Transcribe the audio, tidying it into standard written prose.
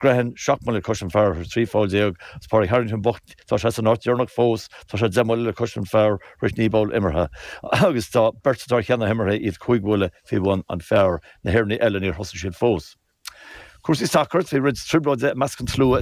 Grehan, 7 mbuille le cois an fear, 13 pholl. Is Pádraig Harrington bocht, tá sé san áit dheireanach fós, tá sé 10 mbuille le cois an fear tar éis 9 bpoll imeartha. Agus tá beirt atá ar cheann na himeartha, iad 5 bhuille faoi bhun an fear. Na hÉireannaigh eile, níor thosaigh siad fós. Cúrsaí sacair, bhí roinnt trioblóide i measc an tslua.